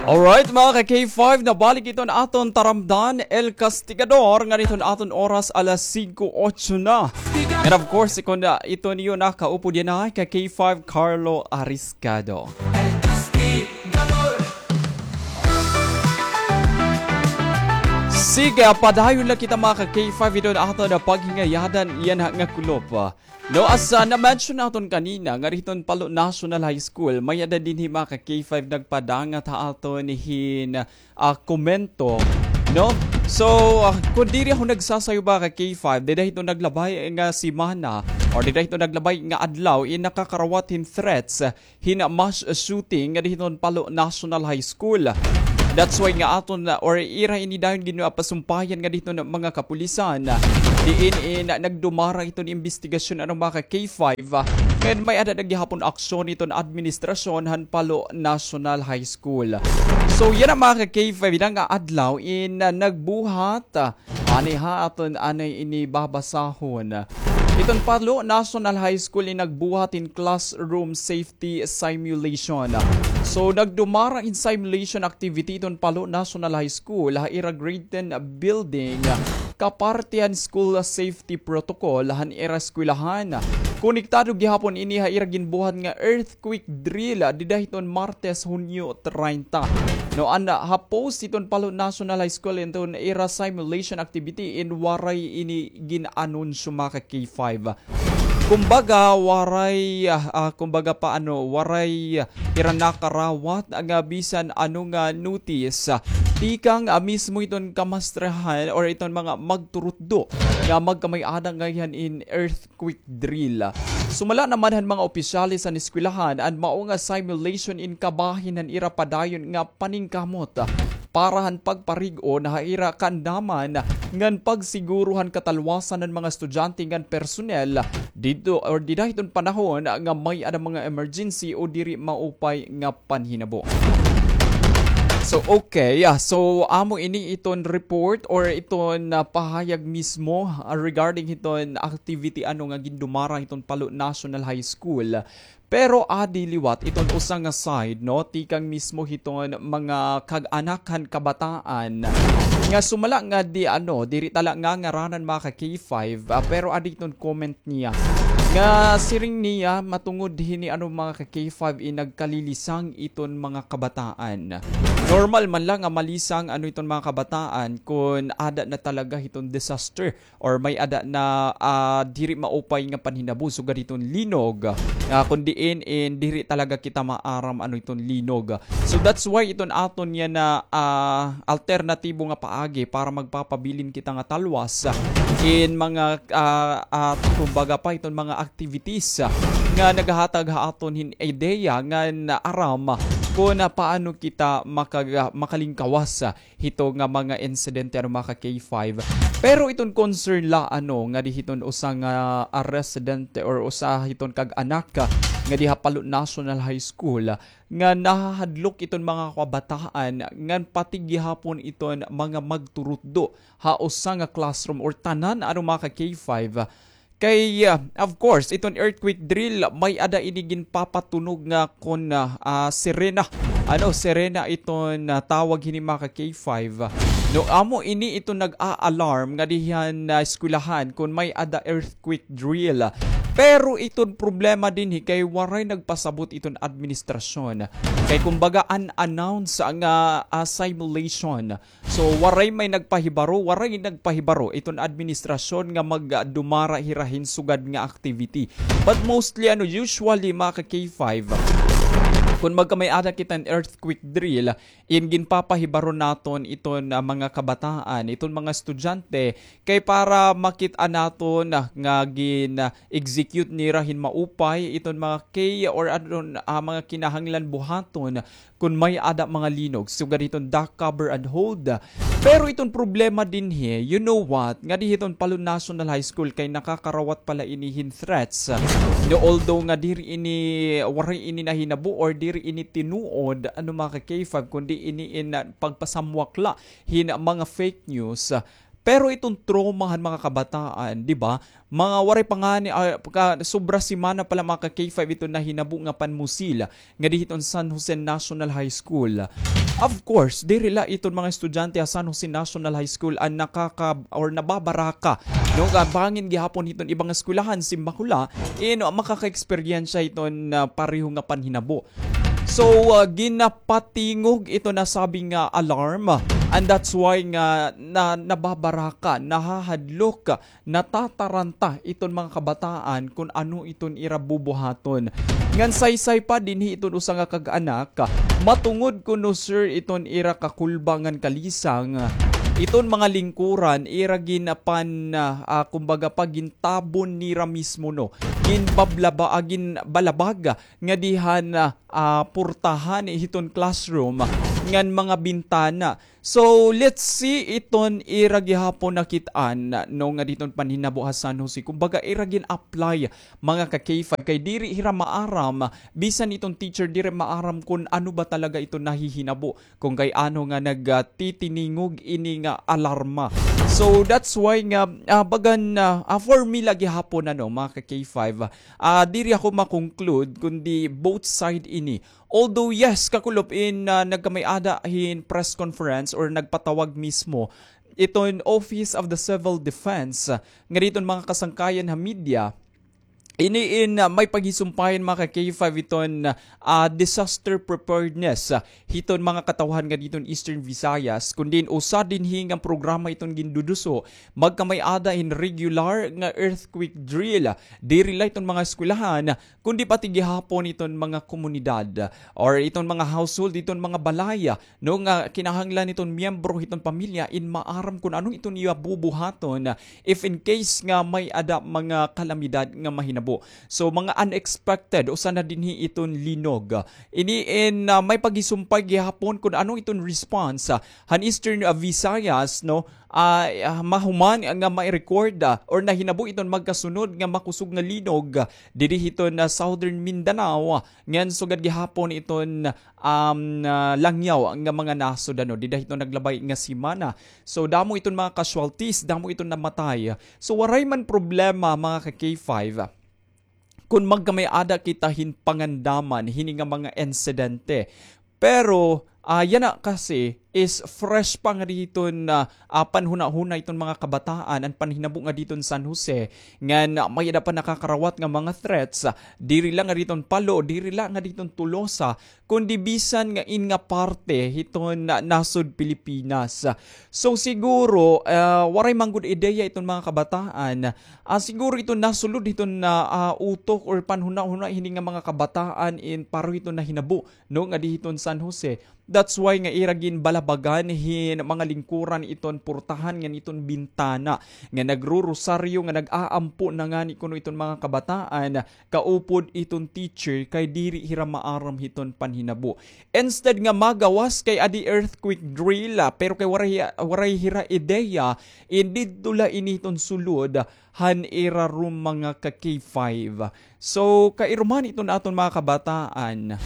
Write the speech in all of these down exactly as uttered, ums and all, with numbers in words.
Alright, mga ka-K five, nabalik iton aton taramdan, El Castigador, ngan iton aton oras alas singko otso na. And of course, kon, ah, ito niyo na kaupod yana, ka-K five Carlo Ariscado. Sige, padayon la kita, mga ka-K five, iton aton paghingayadan yana nga kulop. No, as, ah, na-mention naton kanina, ngari hiton Palo National High School, may-ada dinhi, mga ka-K five, nagpadangat ha aton hin, ah, komento, no? So, ah, kon diri ako nagsasayo, mga ka-K five, dida hiton naglabay nga semana, or dida hiton naglabay nga adlaw, in nakakarawat hin threats, ah, hin mass shooting ngadi hiton Palo National High School. That's why nga aton, ah, or ira ini dayon ginpapasumpayan ngadi hiton mga kapulisan. Diin in nagdumara iton imbestigasyon, ano, mga ka-K five, ah, ngan may-ada na gihapon aksyon iton administrasyon han Palo National High School. So, yana, mga ka-K five, yana nga adlaw in, ah, nagbuhat, ah, Ani ha aton anay ini babasahon. Iton Palo National High School in nagbuhat hin classroom safety simulation. So, nagdumara hin simulation activity iton Palo National High School ha ira grade ten building, kaparte han school safety protocol han ira eskwelahan. Konektado gihapon ini ha ira ginbuhat nga earthquake drill dida hiton Martes, Hunyo treinta. No, an ha post hiton Palo National High School, iton ira simulation activity in waray ini gin-anunsyo, mga ka-K five. Kumbaga, waray, ah, ah, kumbaga pa, ano, waray, ah, ira nakarawat nga bisan ano nga notice, ah, tikang, ah, mismo iton kamastrehan or iton mga magturutdo nga magkamay-ada ngay-an in earth quick drill. Sumala naman han mga opisyales han eskwelahan, an mao nga simulation in kabahin han ira padayon nga paningkamot para han pagparig-on ha ira kaandaman ngan pagsiguro han katalwasan han mga estudyante ngan personnel didto or dida hiton panahon nga may-ada mga emergency o diri maupay nga panhinabo. So, okay. Ah, so, amo ini iton report or iton, ah, pahayag mismo, ah, regarding hiton activity, ano, nga gindumara hiton Palo National High School. Pero adi liwat iton usa nga side, no, tikang mismo hiton mga kag-anak han kabataan nga sumala nga di, ano, diri ta la ngangaranan, mga ka-K five, ah, pero adi iton comment niya nga siring niya matungod hini, ano, mga ka-K five, in nagkalilisang iton mga kabataan. Normal man la nga malisang, ano, iton mga kabataan kon ada na talaga hiton disaster or may-ada na, ah, diri maupay nga panhinabo sugad hiton linog. Ah, kon diin in diri talaga kita maaram, ano, iton linog. So that's why iton aton yana, ah, alternatibo nga paagi para magpapabilin kita nga talwas in mga, ah, ah, kumbaga pa iton mga activities, ah, nga naghahatag ha aton hin ideya ngan aram kon paano kita makaga-, makalingkawas, ah, hito nga mga insidente, ano, mga ka-K five. Pero iton concern la, ano, ngadi hiton usa nga, ah, residente or usa hiton kag-anak, ah, ngadi ha Palo National High School, ah, nga nahahadlok iton mga kabataan ngan pati gihapon iton mga magturutdo ha usa nga classroom or tanan, ano, mga ka-K five. Kay, ah, of course, iton earthquake drill, may-ada ini ginpapatunog nga kon, ah, ah, sirena. Ano, sirena iton, ah, tawag hini, mga ka-K five. No, amo ini iton nag-a-alarm ngadi han, ah, eskwelahan kon may-ada earthquake drill. Pero iton problema dinhi kay waray nagpasabot iton administrasyon. Kay kumbaga unannounced nga, ah, simulation. So, waray may nagpahibaro, waray nagpahibaro iton administrasyon nga magdumara hira hin sugad nga activity. But mostly, ano, usually, mga ka-K five, kon magkamay-ada kita hin earthquake drill, in ginpapahibaro naton iton, ah, mga kabataan, iton mga estudyante, kay para makit-an naton, ah, nga gin-execute nira hin maupay iton mga key or ano, ah, mga kinahanglan buhaton kon may-ada mga linog, sugad hiton duck cover and hold. Pero iton problema dinhi, you know what, ngadi hiton Palo National High School kay nakakarawat pa la ini hin threats. No, although nga diri ini, waray ini nahinabo or diri ini tinuod, ano, mga ka-K five, kundi ini in, ah, pagpasamwak la hin mga fake news. Pero iton trauma han mga kabataan, di ba? Mga waray pa ngani, ah, ka, sobra semana pa la, mga ka K five, iton nahinabo nga panmusil ngadi hiton San Jose National High School. Of course, diri la iton mga estudyante ha San Jose National High School an nakaka-, or nababaraka, no, nga bangin gihapon hiton ibang eskwelahan, simbako la, in makaka-eksperyensya hiton, ah, pareho nga panhinabo. So, ah, ginapatingog ito nasabi nga alarm, and that's why nga na, nababaraka, nahahadlok, natataranta iton mga kabataan kun ano iton ira bubuhaton. Ngan saysay pa dinhi iton usa nga kag-anak, matungod kuno, sir, iton ira kakulba ngan kalisang, iton mga lingkuran ira ginapan, ah, kumbaga, pagintabon nira mismo, no, ginbablaba, ah, ginbalabag ngadi han, ah, ah, portahan hiton classroom ngan mga bintana. So, let's see iton ira gihapon nakit-an, no, ngadi hiton panhinabo ha San Jose. Kumbaga, ira gin-apply, mga ka K five, kay diri hira maaram, bisan iton teacher diri maaram kun ano ba talaga iton nahihinabo, kun kay ano nga nagtitiningog ini nga alarma. So, that's why nga, ah, bagan, ah, ah, for me la gihapon, ano, mga ka K five, ah, diri ako ma-conclude, kundi both side ini. Although, yes, kakulop in, ah, nagkamay-ada hin press conference or nagpatawag mismo iton Office of the Civil Defense, ah, ngadi hiton mga kasangkayan ha media, ini in, ah, may paghisumpayan, mga ka K five, iton, ah, disaster preparedness, ah, hiton mga katawhan ngadi hiton Eastern Visayas, kun diin usa dinhi nga programa iton ginduduso, magkamay-ada hin regular nga earthquake drill. Diri la iton mga eskwelahan, kundi pati gihapon iton mga komunidad or iton mga household, iton mga balay, no, nga kinahanglan iton miyembro hiton pamilya in maaram kun ano iton iya bubuhaton if in case nga may-ada mga kalamidad nga mahinabo. So, mga unexpected, usa na dinhi iton linog. Ini in, ah, may paghisumpay gihapon kun ano iton response, ah, han Eastern, ah, Visayas, no, ah, ah, mahuman nga mai-record, ah, or nahinabo iton magkasunod nga makusog nga linog, ah, didi hiton, ah, Southern Mindanao, ah, ngan sugad gihapon iton, um, ah, langyaw nga mga nasod, ano, dida hiton naglabay nga semana. So, damo iton mga casualties, damo iton namatay. So, waray man problema, mga ka K five, kun magkamay-ada kita hin pangandaman hini nga mga insidente. Pero, ah, yana kasi is fresh pa ngadi hiton, ah, ah, panhunahuna iton mga kabataan an panhinabo ngadi hiton San Jose, ngan, ah, may-ada pa nakakarawat nga mga threats, ah, diri la ngadi hiton Palo, diri la ngadi hiton Tolosa, kundi bisan nga in nga parte hiton, ah, nasod Pilipinas. So siguro, ah, waray man gud ideya iton mga kabataan, ah, siguro iton nasulod hiton, ah, ah, utok or panhunahuna hini nga mga kabataan in pareho hiton nahinabo, no, ngadi hiton San Jose. That's why nga ira ginbalabagan hin mga lingkuran iton portahan ngan iton bintana, nga nagrorosaryo, nga nag-aampo na ngani kuno iton mga kabataan, kaupod iton teacher, kay diri hira maaram hiton panhinabo. Instead nga magawas kay adi earthquake drill, ah, pero kay waray, waray hira ideya, in didto la ini hiton sulod han ira room, mga ka K five. So, kairuman iton aton mga kabataan,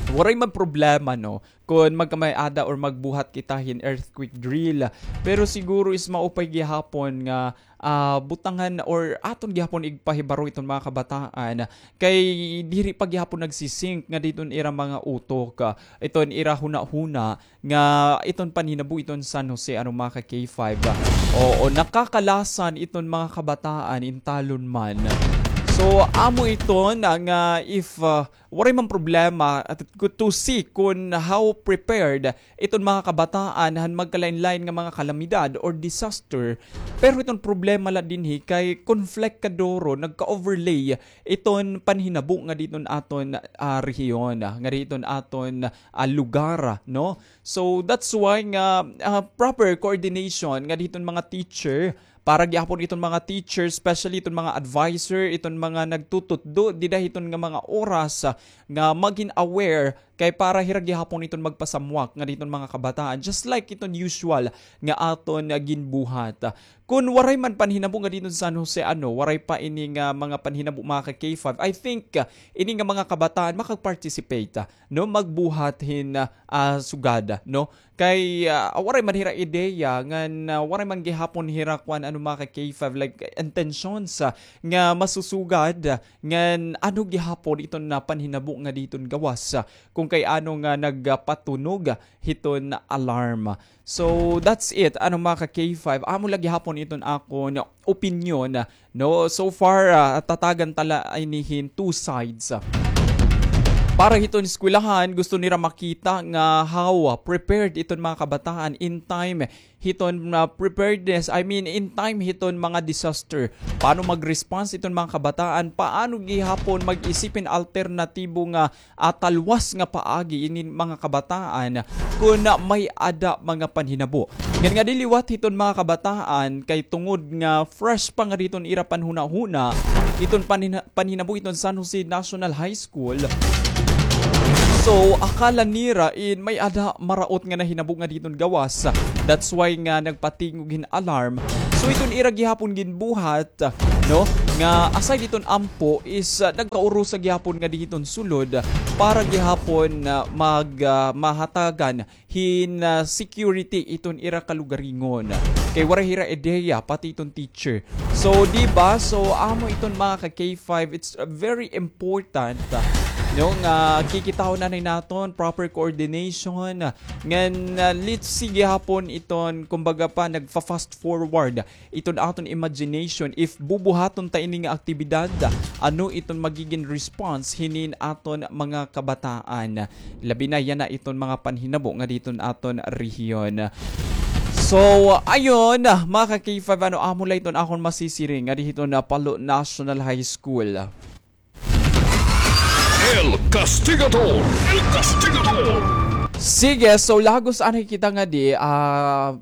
waray man problema, no, kun magkamay-ada or magbuhat kita hin earthquake drill. Pero siguro is maupay gihapon nga, ah, butangan or aton gihapon igpahibaro iton mga kabataan kay diri pa gihapon nagsisink ngadi hiton ira mga utok, ah, iton ira hunahuna nga iton panhinabo iton San Jose, ano, mga ka K five, ah. Oo, nakakalasan iton mga kabataan in talon man. So, amo iton, ah, nga if, ah, waray man problema, at to see kun how prepared iton mga kabataan han magkalain-lain nga mga kalamidad or disaster. Pero iton problema la dinhi kay conflict kaduro, nagka-overlay iton panhinabo ngadi hiton aton, ah, rehiyon, ah, ngadi hiton aton, ah, lugar, no? So, that's why nga, ah, proper coordination ngadi hiton mga teacher, para gihapon iton mga teacher, especially iton mga advisor, iton mga nagtututdo dida hiton nga mga oras, ah, nga magin aware Kay para hira gihapon iton magpasamwak ngadi hiton mga kabataan, just like iton usual nga aton, ah, ginbuhat. Kun waray man panhinabo ngadi hiton San Jose, ano, waray pa ini nga mga panhinabo, mga ka-K five, I think, ah, ini nga mga kabataan makag-participate, ah, no, magbuhat hin, ah, ah, sugad, no? Kay, ah, waray man hira ideya ngan, ah, waray man gihapon hira kuan, ano, mga ka-K five, like, intentions, ah, nga masusugad, ah, ngan ano gihapon iton, ah, panhinabo ngadi hiton gawas, ah, kung kay ano nga nagpatunog hiton alarm. So, that's it, ano, mga ka-K five. Amo la gihapon iton akon opinyon, ah, no? So far, ah, tatagan ta la ini hin two sides. Para hiton eskwelahan, gusto nira makita nga how, ah, prepared iton mga kabataan in time hiton, ah, preparedness, I mean, in time hiton mga disaster. Paano mag-response iton mga kabataan? Paano gihapon mag-isip hin alternatibo nga, ah, talwas nga paagi ini mga kabataan kun may-ada mga panhinabo? Ngan ngadi liwat hiton mga kabataan, kay tungod nga fresh pa ngadi hiton ira panhunahuna iton panhina-, panhinabo hiton San Jose National High School. So, akala nira in may-ada maraot nga nahinabo ngadi hiton gawas. That's why nga nagpatingog hin alarm. So, iton ira gihapon ginbuhat, no, nga aside hiton ampo is, ah, nagkaurusa gihapon ngadi hiton sulod para gihapon, ah, mag, ah, mahatagan hin, ah, security iton ira kalugaringon. Kay waray hira ideya, pati iton teacher. So, di ba? So, amo iton mga ka-K five, it's, uh, very important, ah, no, nga kikitaon anay naton proper coordination, ah, ngan, ah, let's see gihapon iton, kumbaga pa, nagfa-fast forward iton aton imagination, if bubuhaton ta ini nga aktibidad, ano iton magigin response hinin aton mga kabataan? Labi na yana iton mga panhinabo ngadi hiton aton rehiyon. So, ayun, mga ka-K five, ano, amo la iton akon masisiring ngadi hiton, ah, Palo National High School. El Castigador! El Castigador! Sige, so lagos anay kita ngadi, ah,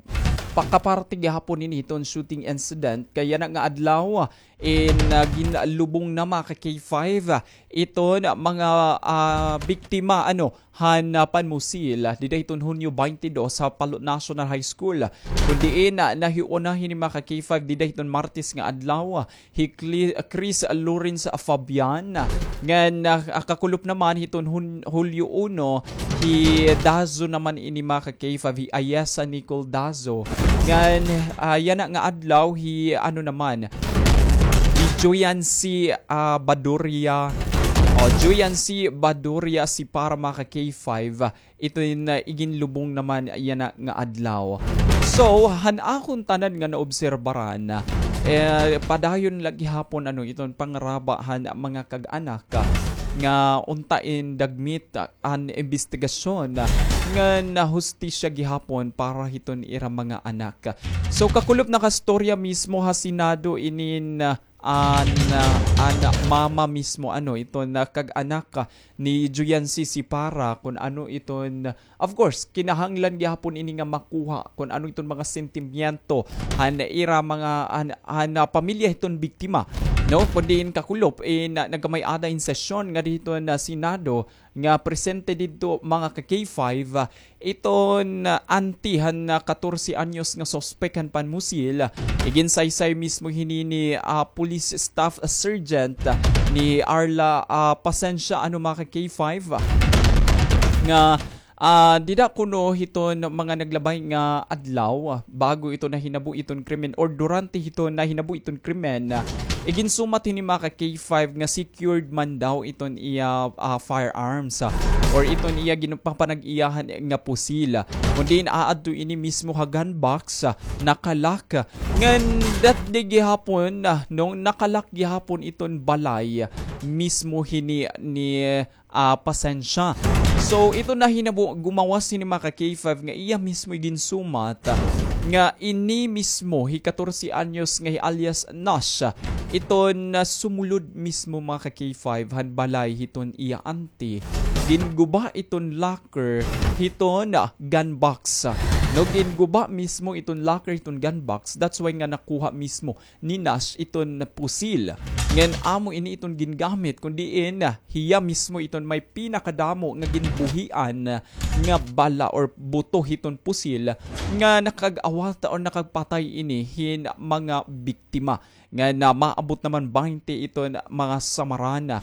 pakaparte gihapon ini hiton shooting incident. Kay yana nga adlaw, in, ah, ginlubong na, mga ka-K five, ah, iton mga, ah, biktima, ano, han, ah, panmusil, ah, dida hiton Hunyo twenty-two ha Palo National High School. Kun diin, ah, nahiuna hini, mga ka-K five, dida hiton Martes nga adlaw, ah, hi Cli-, Chris Lawrence Fabian. Ngan, ah, kakulop naman hiton Hun-, Hulyo uno, hi Dazo naman ini, mga ka-K five, hi Ayesa Nicole Dazo. Ngan, ah, yana nga adlaw, hi, ano naman, hi Joyancy, ah, Baduria. O, Joyancy Baduria Sipara, mga ka-K five. Iton, ah, iginlubong naman yana nga adlaw. So, han akon tanan nga naobserbaran, eh, padayon la gihapon, ano, iton pangaraba han mga kag-anak, ah, nga unta in dagmit, ah, an imbestigasyon, ah, ngan hustisya gihapon para hiton ira mga anak. So, kakulop nakastorya mismo ha Senado inin, ah, an, ah, an mama mismo, ano, iton kag-anak, ah, ni Juyancy Sipara, kun ano iton, of course, kinahanglan gihapon ini nga makuha kun ano iton mga sentimiento han ira mga, han, han, ah, pamilya hiton biktima, no? Kun diin kakulop, eh, na, nagkamay-ada in sesyon ngadi hiton, ah, Senado nga presente didto, mga ka-K five, ah, iton, ah, auntie han, ah, katorse anyos nga suspek han panmusil. Iginsaysay mismo hini ni, ah, Police Staff Sergeant, ah, ni Arla, ah, Pasensia, ano, mga ka-K five, ah, nga, ah, dida kuno hiton mga naglabay nga adlaw, ah, bago ito nahinabo iton krimen or durante hiton nahinabo iton krimen, ah, iginsumat hini, mga ka-K five, nga secured man daw iton iya, ah, firearms, ah, or iton iya ginpapanag-iyahan nga pusil. Kun diin aadto ini mismo ha gun box, ah, nakalock. Ngan that day gihapon, ah, no, nakalock gihapon iton balay mismo hini ni, ah, Pasensia. So, ito nahinabo, gumawas hini, mga ka-K five, nga iya mismo iginsumat, ah, nga ini mismo hi katorse anyos nga hi alias Nash, ah, iton sumulod mismo, mga ka-K five, han balay hiton iya auntie. Ginguba iton locker hiton, ah, gun box, ah, No, ginguba mismo iton locker, iton gun box. That's why nga nakuha mismo ni Nash iton pusil. Ngan amo ini iton gingamit, kun diin, ah, hiya mismo iton may pinakadamo nga ginbuhian nga bala or buto hiton pusil nga nakag-awat or nakagpatay ini hin mga biktima. Ngan, ah, maabot naman baynte iton mga samaran.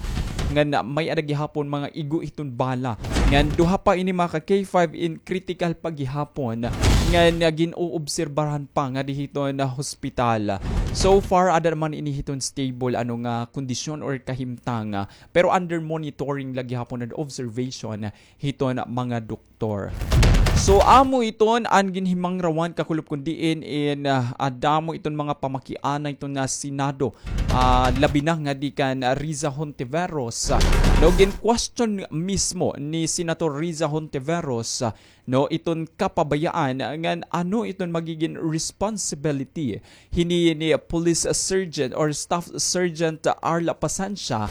Ngan, ah, may-ada gihapon mga igo hiton bala. Ngan duha pa ini, mga ka-K five, in critical pa gihapon. Ngan, ah, gin-oobserbaran pa ngadi hiton, ah, hospital. So far, ada naman ini hiton stable, ano nga, kondisyon or kahimtang, ah, pero under monitoring la gihapon and observation hiton mga doktor. So, amo iton an ginhimangrawan, kakulop, kun diin in, ah, ah, damo iton mga pamakiana iton nga Senado, ah, labi na ngadi kan Riza Hontiveros, ah, no, gin-question mismo ni Senator Riza Hontiveros, ah, no, iton kapabayaan ngan ano iton magigin responsibility hini ni Police Sergeant or Staff Sergeant Arla Pasancia,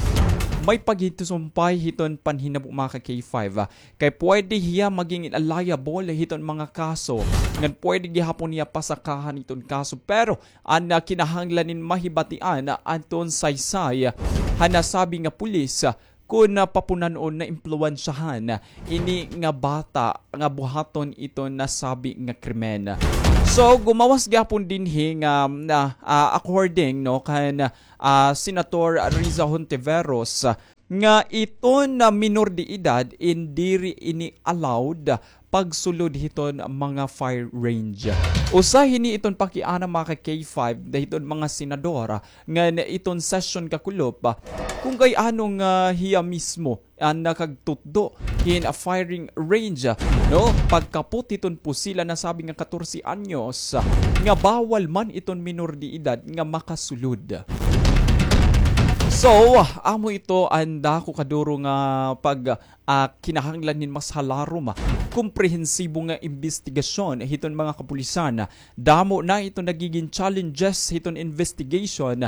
may paghisumpay hiton panhinabo, mga ka-K five. Kay pwede hiya maging liable hiton mga kaso, ngan pwede gihapon hiya pasakahan hiton kaso. Pero an, ah, kinahanglan nin mahibatian, ah, aton saysay han nasabi nga pulis, ah, kun, ah, papunan-on, naimpluwensyahan ini nga bata nga buhaton iton nasabi nga krimen. So, gumawas gihapon dinhi nga, ah, ah, according, no, kan, ah, Senator Riza Hontiveros, ah, nga iton, ah, minor de edad in diri ini allowed pagsulod hiton mga fire range. Usa hini iton pakiana, mga ka-K five, hiton mga senador, ngan iton session, kakulop, kun kay ano nga hiya mismo an nakagtutdo hin firing range, no? Pagkapot hiton pusil han nasabi nga katorse anyos, nga bawal man iton minor de edad nga makasulod. So, amo ito an dako kaduro nga pag, ah, kinahanglan hin mas halarom, ah, komprehensibo nga imbestigasyon hiton mga kapulisan. Damo na iton nagigin challenges hiton investigation,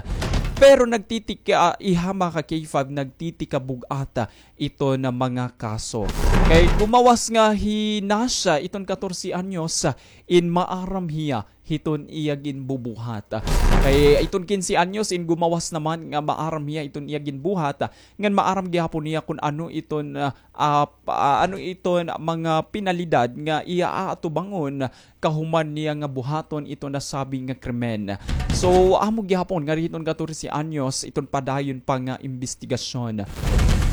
pero nagtitika, ah, iha, mga ka-K five, nagtitikabug-at, ah, iton mga kaso. Kay gumawas nga hi Nasha, iton katorse anyos, ah, in maaram hiya hiton iya ginbubuhat. Kay iton kinse anyos in gumawas naman nga maaram hiya iton iya ginbuhat, ngan maaram gihapon niya kun ano iton, ah, ah, pa-, ah, ano iton mga penalidad nga iya aatubangon kahuman niya nga buhaton iton nasabi nga krimen. So, amo gihapon nga hiton katorse anyos iton padayon pa nga imbestigasyon.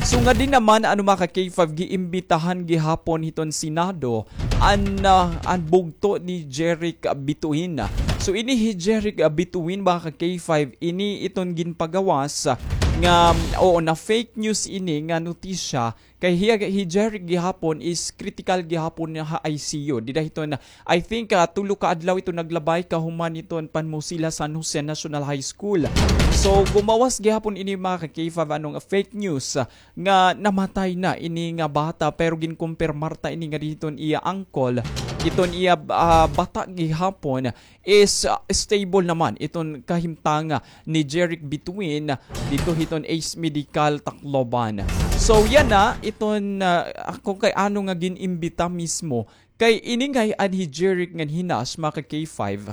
So, ngadi naman, ano, mga ka-K five, giimbitahan gihapon hiton Senado an, ah, an bugto ni Jeric Bituin. So, ini hi Jeric, ah, Bituin, mga ka-K five, ini iton ginpagawas, ah, nga, oo, na fake news ini nga notisya. Kay hiya, hi Jeric gihapon is critical gihapon ha I C U. Dida hiton, I think, ah, tulo ka adlaw iton naglabay kahuman hiton panmusil ha San Jose National High School. So, gumawas gihapon ini, mga ka-K five, ano nga fake news, ah, nga namatay na ini nga bata, pero ginkumpirmar ta ini nga hiton iya uncle, iton iya, ah, bata gihapon is, ah, stable naman iton kahimtang ni Jeric Bituin didto hiton Ace Medical Tacloban. So, yana na iton, ah, kun kay ano nga gin-imbita mismo. Kay ini ngay-an hi Jeric ngan hi Nash, mga ka-K five,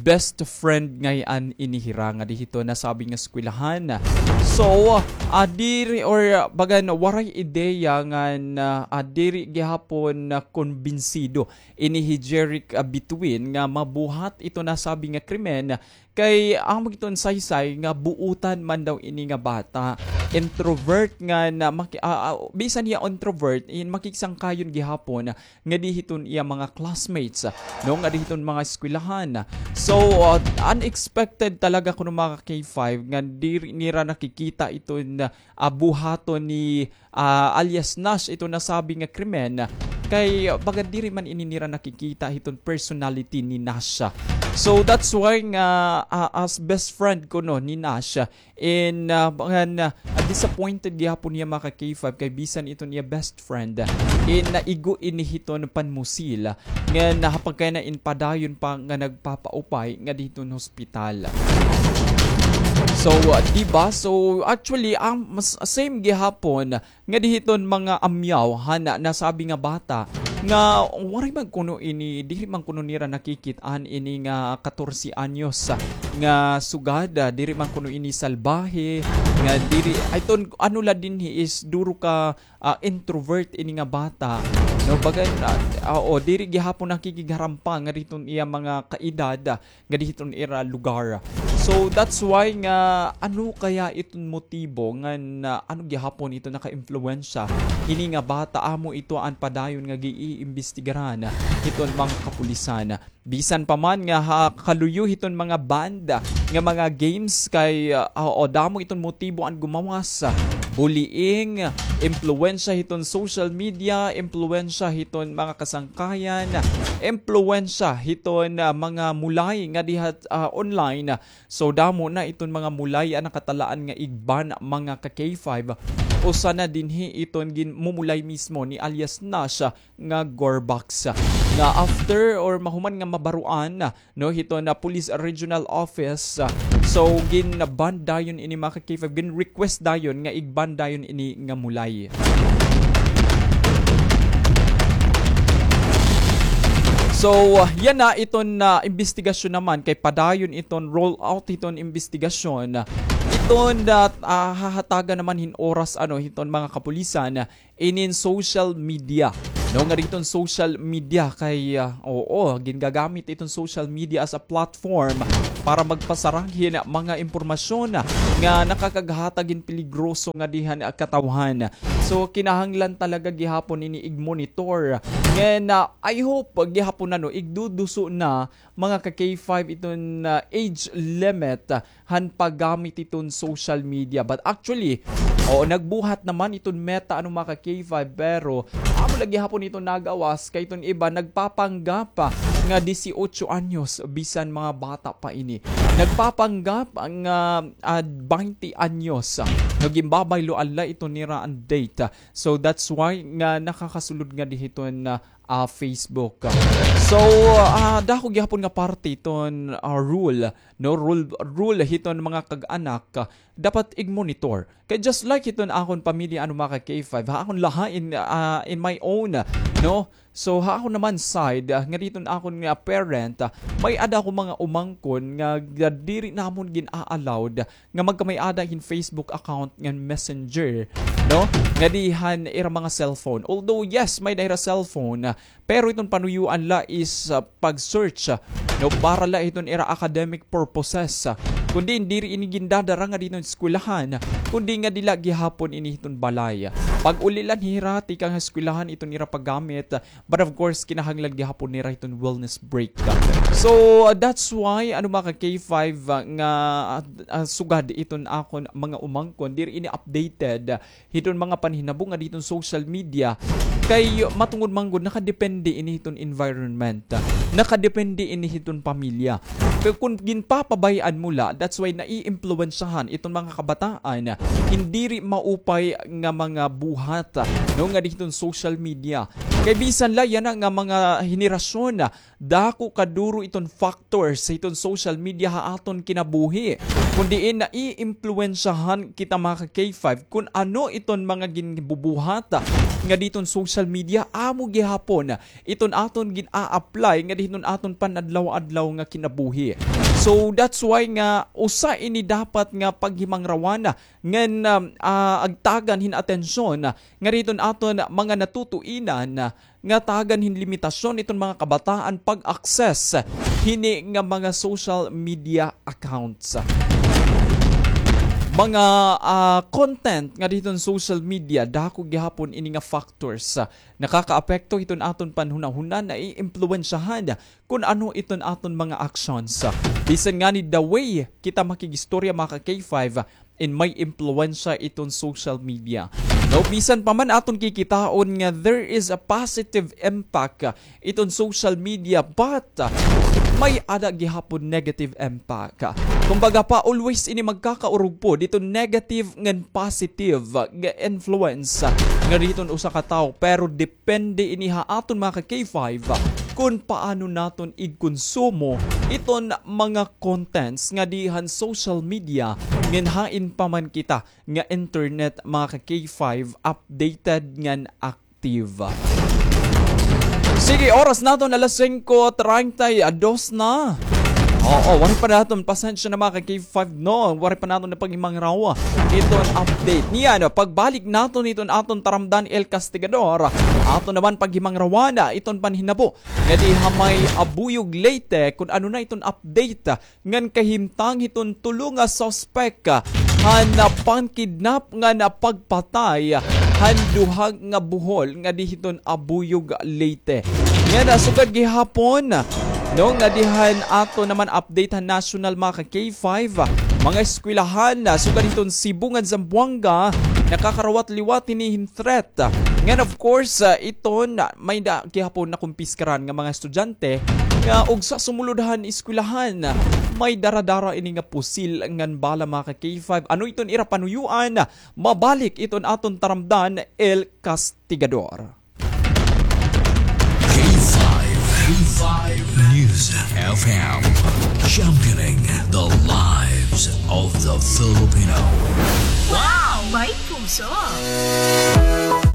best friend ngay-an ini hira ngadi hiton nasabi nga eskwelahan. So, ah, diri or, ah, bagan waray ideya ngan, ah, ah, diri gihapon na kumbinsido ini hi Jeric, ah, Bituin nga mabuhat iton nasabi nga krimen. Kay amo iton saysay nga buotan man daw ini nga bata. Introvert ngan maki-, ah, ah, bisan hiya introvert, in makisangkayon gihapon ngadi hiton iya mga classmates, no, ngadi hiton mga eskwelahan. So, ah, unexpected talaga kuno, mga ka-K five, nga diri nira nakikita iton, ah, buhaton ni, ah, alias Nash iton nasabi nga krimen. Kay, ah, baga diri man ini nira nakikita hiton personality ni Nash. So, that's why nga, ah, as best friend kuno ni Nash, in, ah, bagan, ah, disappointed gihapon hiya, mga ka-K five, kay bisan iton iya best friend, ah, in naigo ini hiton panmusil, ah, ngan, ah, ha pagkayana in padayon pa nga nagpapaupay ngadi hiton hospital. So, ah, di ba? So, actually, ang mas, same gihapon ngadi hiton mga amyaw han nasabi nga bata, nga waray man kuno ini, diri man kuno nira nakikit-an ini nga katorse anyos, ah, nga sugad, ah, diri man kuno ini salbahe, nga diri, ay, iton ano la dinhi is duro ka, ah, introvert ini nga bata, no? Bagan, ah, oo, diri gihapon nakikigharampa nga diton iya mga kaedad, ah, nga dihiton ira lugar. So, that's why nga, ano kaya iton motibo nga na, ano gihapon ito naka-impluwensya hini nga bata, amo ito an padayon nga giiimbestigaran hiton mga kapulisan. Bisan pa man nga ha, kaluyo hiton mga banda nga mga games kay, ah, o damo iton motibo an gumawas. Bullying, impluwensya hiton social media, impluwensya hiton mga kasangkayan, impluwensya hiton, ah, mga mulay nga diha, ah, online. So, damo na iton mga mulay an nakatalaan nga igban mga ka K five. Usa na dinhi iton ginmumulay mismo ni alias Nash nga Gorbax. Nga after or mahuman nga mabaruan, no, hiton Police Regional Office. So, gin-ban dayon ini mga ka K five, gin-request dayon nga igban dayon ini nga mulay. So, yana iton, ah, imbestigasyon naman kay padayon iton roll out hiton imbestigasyon. Iton, ah, ah, hahatagan naman hin oras, ano, hiton mga kapulisan inin social media. No, nga diton social media kay, ah, oo, gingagamit iton social media as a platform para magpasarang hin mga impormasyon nga nakakaghatag hin peligroso nga dihan, ah, katawhan. So, kinahanglan talaga gihapon ini igmonitor. Ngan, ah, I hope gihapon na, no, igduduso na mga ka K five iton, ah, age limit, ah, han paggamit iton social media. But actually, oo, nagbuhat naman iton Meta, ano, mga ka K five, pero amo la gihapon iton nagawas kay iton iba nagpapanggap, ah, nga dieciocho anyos, bisan mga bata pa ini. Nagpapanggap nga, ah, baynte anyos, ah, nga ginbabayloan la iton nira an date. So that's why nga nakakasulod nga dihiton, ah, ah, Facebook. So, ah, dako gihapon nga parte iton, ah, rule, no? Rule, rule hiton mga kag-anak, ah, dapat igmonitor. Kay just like hiton akon pamilya, ano, mga ka K five, ha akon laha in, ah, in my own, no? So, ha akon naman side, ah, nga diton akon nga parent, ah, may-ada ako mga umangkon nga, nga diri namon gin-a-allowed nga magkamay-ada hin Facebook account ngan Messenger, no? Nga dihan ira mga cellphone. Although, yes, may-ada ira cellphone, ah, pero iton panuyoan la is, ah, pag-search, ah, no, para la iton ira academic purposes, ah. Kundi diri ini gindadara nga diton eskwelahan, kundi nga dila gihapon ini hiton balay. Pag-uli la hira tikang eskwelahan iton ira paggamit, ah, but of course, kinahanglan gihapon nira hiton wellness break. So, uh, that's why, ano, mga ka K five, uh, nga, uh, uh, sugad iton akon mga umangkon, diri ini updated, uh, hiton mga panhinabo nga diton social media. Kay matungod man gud, nakadepende ini hiton environment. Uh, nakadepende ini hiton pamilya. Kay kun ginpapabay-an mo la, that's why naiimpluwensyahan iton mga kabataan, uh, hin diri maupay nga mga buhat, uh, no, nga diton social media. Kay bisan la yana nga mga henerasyon, dako kaduro iton factors sa iton social media ha aton kinabuhi. Kun diin naiimpluwensyahan kita, mga ka K five, kun ano iton mga ginbubuhat nga diton social media, amo gihapon iton aton gin-a-apply nga diton aton panadlaw-adlaw nga kinabuhi. So that's why nga usa ini dapat nga paghimangrawan ngan, um, ah, agtagan hin atensyon nga diton aton mga natutuinan nga tagan hin limitasyon iton mga kabataan pag-access hini nga mga social media accounts. Mga, ah, content nga diton social media, dako gihapon ini nga factors, ah, nakakaapekto hiton aton panhunahuna, naiimpluwensyahan kun ano iton aton mga actions. Bisan ngani the way kita makig-istorya, mga ka K five, in may impluwensya iton social media. No, bisan pa man aton kikitaon nga there is a positive impact, uh, iton social media, but, uh, may-ada gihapon negative impact. Kumbaga pa, always ini magkakaurog po diton negative ngan positive, uh, nga influence, uh, nga diton usa ka tawo. Pero depende ini ha aton, mga ka K five, uh, kun paano naton igkonsumo iton mga contents nga dihan social media, ngan hain pa man kita nga internet, mga ka K five, updated ngan active. Sige, oras naton alas singko treinta y dos na. Oo, waray pa naton, pasensya na, mga ka-K five, no? Waray pa naton napaghimangrawa iton update. Niyan, pagbalik naton iton aton taramdan, El Castigador, aton naman paghimangrawan iton panhinabo nga dinhi ha may Abuyog, Leyte, kun ano na iton update ngan kahimtang hiton tulo nga suspek han pangkidnap ngan pagpatay han duha nga buhol nga dinhi hiton Abuyog, Leyte. Ngan, ah, sugad gihapon, no, nga dinhi han aton naman update han national, mga ka-K five, mga eskwelahan, ah, sugad hiton Cebu ngan Zamboanga, nakakarawat liwat hini hin threat. Ngan, of course, ah, iton, ah, may-ada gihapon nakumpiskaran nga mga estudyante nga ugsa sumulod han eskwelahan, may dara-dara ini nga pusil ngan bala, mga ka-K five. Ano iton ira panuyuan? Mabalik iton aton taramdan, El Castigador. K five, K five News F M, championing the lives of the Filipino. Wow! May puso!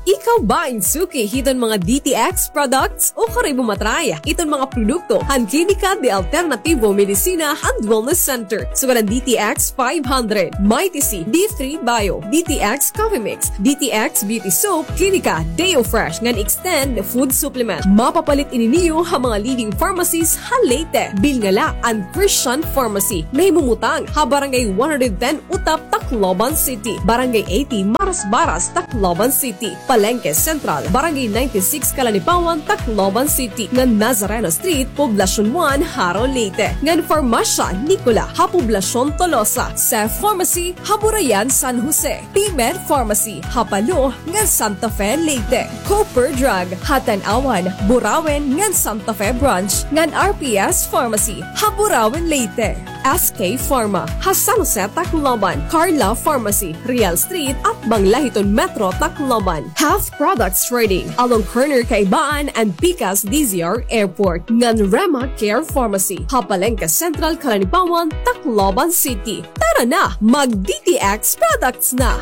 Ikaw ba in suki hiton mga D T X products? Ukari mo matry iton mga produkto han Klinika de Alternativo Medicina and Wellness Center. Sugad han D T X five hundred, Mighty C, D three Bio, D T X Coffee Mix, D T X Beauty Soap, Klinika Deo Fresh ngan Extend Food Supplement. Mapapalit ini niyo ha mga leading pharmacies ha Leyte. Bilngala an Christian Pharmacy, nahimumutang ha Barangay one hundred ten Utap, Tacloban City, Barangay eighty Marasbaras, Tacloban City, Palengke Central, Barangay ninety-six Calanipawan, Tacloban City, ngan Nazareno Street, Poblacion one, Jaro, Leyte, ngan Farmasya Nicola ha Poblacion Tolosa, Seth Pharmacy ha Burayan, San Jose, P-Med Pharmacy ha Palo ngan Santa Fe, Leyte, Cooper Drug ha Tanauan, Burauen ngan Santa Fe Branch, ngan R P S Pharmacy ha Burauen, Leyte. S K Pharma ha San Jose, Tacloban, Carla Pharmacy, Real Street, atbang la hiton Metro Tacloban. Health Products Trading along corner Kaibaan and Pikas D Z R Airport, ngan Rema Care Pharmacy ha Palengke Central, Calanipawan, Tacloban City. Tara na, mag D T X products na!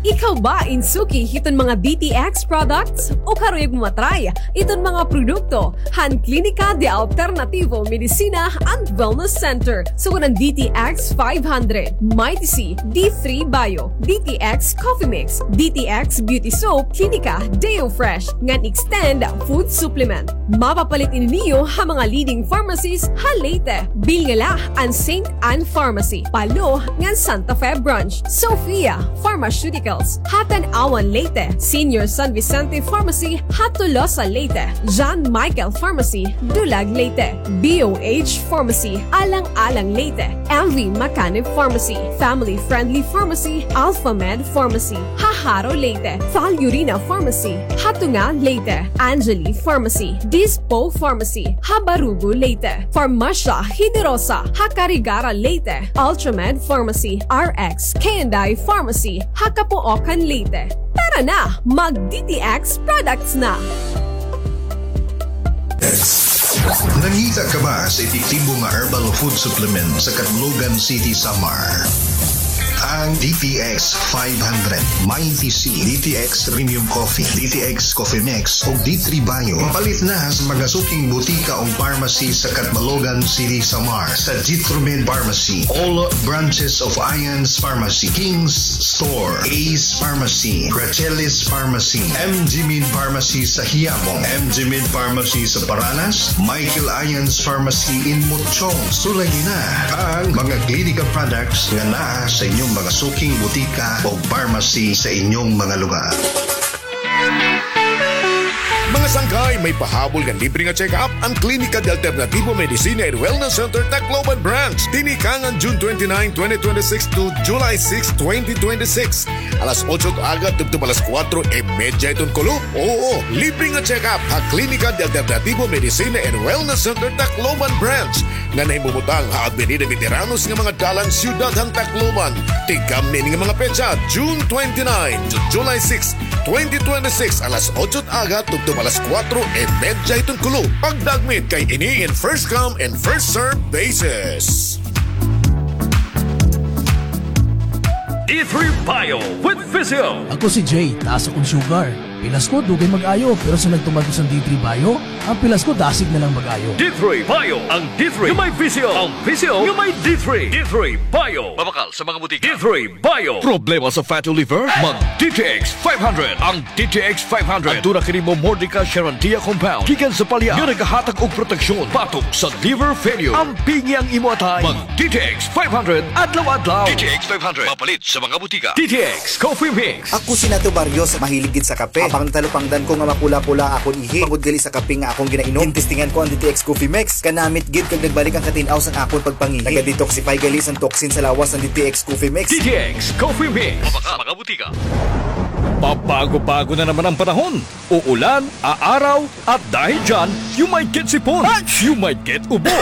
Ikaw ba in suki hiton mga D T X products? Ukari mo matry iton mga produkto han Klinika de Alternativo Medicina and Wellness Center, sugad han D T X five hundred, Mighty C, D three Bio, D T X Coffee Mix, D T X Beauty Soap, Klinika Deo Fresh, ngan Extend Food Supplement. Mapapalit ini niyo ha mga leading pharmacies ha Leyte. Bilngala an Saint Ann Pharmacy, Palo, ngan Santa Fe Branch, Sofia Pharmaceuticals ha Tanauan, Leyte, Senior San Vicente Pharmacy ha Tolosa, Leyte, John Michael Pharmacy, Dulag, Leyte, B O H Pharmacy, Alang-alang, Leyte, M V Macanib Pharmacy, Family Friendly Pharmacy, Alpha Med Pharmacy ha Jaro, Leyte, Val Urina Pharmacy ha Tunga, Leyte, Angeli Pharmacy, Dispo Pharmacy ha Barugo, Leyte, Farmasya Generosa ha Carigara, Leyte, Ultramed Pharmacy, R X K and I Pharmacy ha Capoocan, Leyte. Tara na, mag D T X products na! Nangita ka ba sa epektibo nga herbal food supplement sa Catlogan City, Samar? Ang D T X five hundred, Mighty C, D T X Premium Coffee, D T X Coffee Mix, ug D three Bio. Mapalit na sa mga suking butika o pharmacy sa Catbalogan City, Samar, sa Jitromed Pharmacy, all branches of Ions Pharmacy, King's Store, Ace Pharmacy, Gracelis Pharmacy, M G Med Pharmacy sa Quiapo, M G Med Pharmacy sa Paranas, Michael Ions Pharmacy in Mochong. Sulayi na ang mga Klinika products nga naa sa inyong mga suking butika o pharmacy sa inyong mga lugar. Mga sangkay, may pahabol nga libre nga check-up an Klinika de Alternativo Medicina and Wellness Center Tacloban Branch. Tinikangan June twenty-nine, twenty twenty-six to July six, twenty twenty-six. Alas otso aga tubtob alas kuwatro y medya hiton kulop. Oo, libre nga check-up ha Klinika de Alternativo Medicina and Wellness Center Tacloban Branch nga nahimumutang ha Avenida Veteranos nga mga dalan, siyudad han Tacloban. Tigkamni ini nga mga petsa, June twenty-nine to July six, twenty twenty-six, alas otso aga tubtob alas kuwatro y medya hiton kulop. Pagdagmit kay ini in first come and first serve basis. D three Bio with Physio. Ako si Jay, taas akon sugar. Pilas ko, dugay mag-ayo, pero sa nagtuman ko sa D three Bio, ang pilas ko dasig na lang mag-ayo. D three Bio, ang D three nga may Physio, ang Physio nga may D three. D three Bio. Mabakal sa mga butika. D three Bio. Problema sa fatty liver? Mag D T X five hundred. Ang D T X five hundred. Aduna kini Momordica charantia compound gikan sa palya nga nagahatag og proteksyon batok sa liver failure. Ampingi ang imo atay. Mag D T X five hundred adlaw-adlaw. D T X five hundred. Mapalit sa mga butika. D T X Coffee Mix. Ako si Nato Barrios, mahilig gid sa kape. Apang natalupangdan ko nga mapula-pula akon ihi tungod gali sa kape nga akon ginainom. Gintestingan ko ang D T X Coffee Mix. Kanamit gid kag nagbalik ang katin-aw sang akon pagpangihi. Naga-detoxify gali sang toxin sa lawas ang D T X Coffee Mix. D T X Coffee Mix. Mabakal sa mga butika. Pabago-bago na naman ang panahon. Uulan, aaraw, at dahil dyan, you might get sipon, you might get ubo,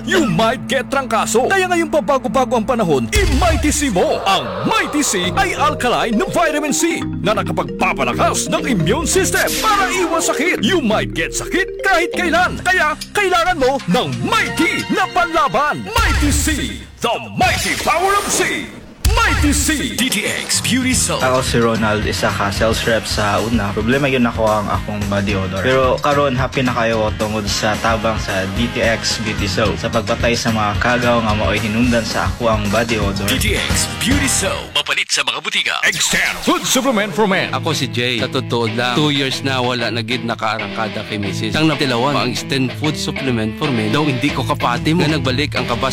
you might get trangkaso. Kaya ngayong pabago-bago ang panahon, i-Mighty C mo. Ang Mighty C ay alkaline na vitamin C na nakapagpapalakas ng immune system para iwas sakit. You might get sakit kahit kailan. Kaya kailangan mo ng Mighty na panlaban. Mighty C, the mighty power of C. Mighty C. D T X Beauty Soap. Ako si Ronald, isa ka sales rep sa una. Problema gyud nako ang akong body odor. Pero karon, happy na kaayo ko tungod sa tabang sa D T X Beauty Soap sa pagpatay sa mga kagaw nga maoy hinungdan sa ako ang body odor. D T X Beauty Soap. Mapalit sa mga butika. Extend Food Supplement for Men. Ako si Jay. Sa totoo lang, two years na wala na gid nakaarangkada kay misis. Ang natilawan, ang Extend Food Supplement for Men. Daw hindi ko kapati mo. Nga nagbalik ang kabas